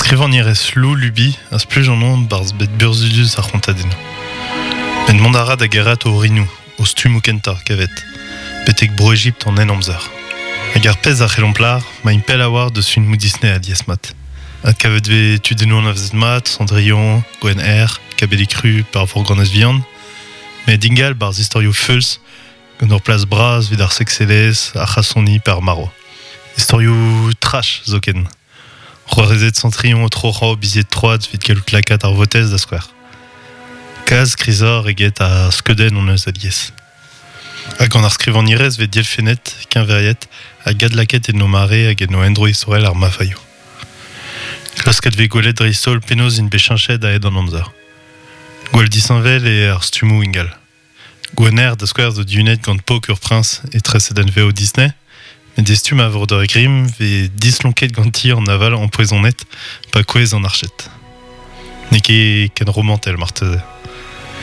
Skrivagnerez Lou Lubi a spluj an on 'barzh bed burzhudus ar c'hontadennoù. Met mont a ra da gerc'hat o orinoù, o stummoù kentañ, kavet, betek Bro-Ejipt an Henamzer. Hag ar pezh a c'hellomp lâr, 'maint pell a-walc'h deus filmoù Disney alies-mat. Adkavet 'vez tudennoù anavezet mat, Cendrillon, Gwenn Erc'h, Kabellig Ru pe ar Vorganez Vihan, met ingal 'barzh istorioù feuls gant ur plas bras evit ar sekselezh, ar c'hasoni pe ar marv. Istorioù trash zoken. C'hoarezed Centrion o troc'hañ o bizied troad evit gallout lakaat ar votez da skouer. Kalz krizoc'h eget ar skeudenn hon eus alies. Ha gant ar skrivagnerez 'vez dielfennet, keñveriet hag adlakaet en o mare hag en o endro istorel ar mafaioù. Klasket 'vez gwelet dreist-holl penaos int bet cheñchet a-hed an amzer. Gwall disheñvel eo ar stummoù ingal. Gwener, da skouer, zo dihunet gant pok ur priñs etre sedenvev Disney, met e stumm a vreudeur Grimm 'vez dislonket ganti an aval ampoezonet pa kouezh an arched. N'eo ket ken romantel marteze.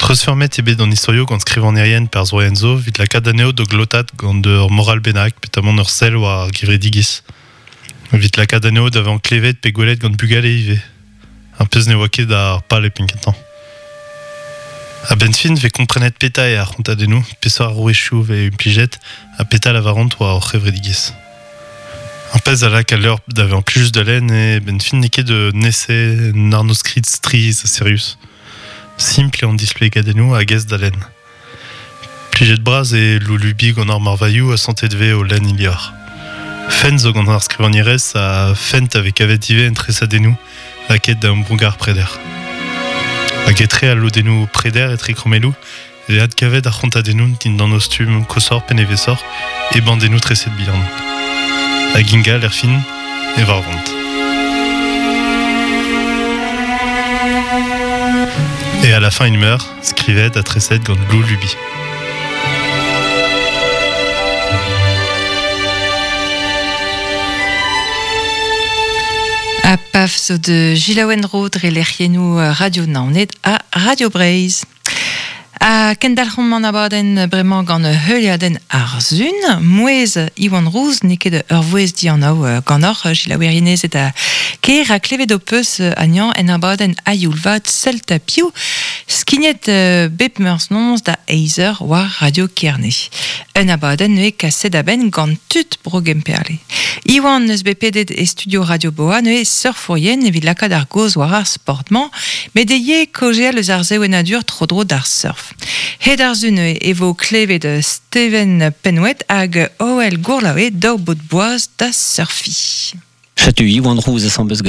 Treuzfeurmet eo bet an istorioù gant skrivagnerien perzhvoaien zo evit lakaat anezho da glotat gant ur moral bennak petamant ur sell war ar gevredigezh. Evit lakaat anezho da vezañ klevet pe gwelet gant bugale ivez. Ar pezh ne oa ket ar pal e penn-kentañ. A-benn fin 'vez komprenet petra eo ar c'hontadennoù, peseurt arouezioù 'vez implijet ha petra lavaront war hor c'hevredigezh. Ar pezh a lak al levr da vezañ plijus da lenn eo 'benn fin n'eo ket un ese, un arnodskrid strizh ha sirius. Simpl eo an displegadennoù hag aes da lenn. Plijet-bras eo Lulubi gant ar marvailhoù ha santet 'vez o lenn he levr. Fent zo gant ar skrivagnerez ha fent a vez kavet ivez en tresadennoù lakaet da ambroug ar preder. Hag etre al lodennoù preder etre krommelloù e vez adkavet ar c'hontadennoù dindan o stumm koshoc'h pe nevesoc'h e bandennoù treset bihan. Hag ingal erfin e varvont. Et à la fin il meurt, skrivet ha treset gant Lou Luby. Ha paf zo de Gilaouen Ro dre lec'hiennoù Radio Naoned ha Radio Breizh. Ha kendalc'homp an abadenn bremañ gant heuliadenn ar Sun. Mouezh Iwan Rouz n'eo ket ur vouezh dianav ganeoc'h, selaouerienezed ha kêr, ha klevet ho peus anezhañ en abadenn A-youl vat Celta Piv, skignet bep meurzh noz da eizh eur war Radio Kerne. Un abadenn neuze kaset a-benn gant tud Bro Gemperle. Iwan n'eus bet pedet e studio Radio Boa neuze surfourien evit lakaat ar gaoz war ar sport-mañ, met e ivez kaozeal eus ar sevenadur tro-dro d'ar surf. Hed ar sun e vo klevet Steven Penouet hag Hoel Gourlaoe daou baotr boaz da surfiñ. Setu Iwan Rouz asambles.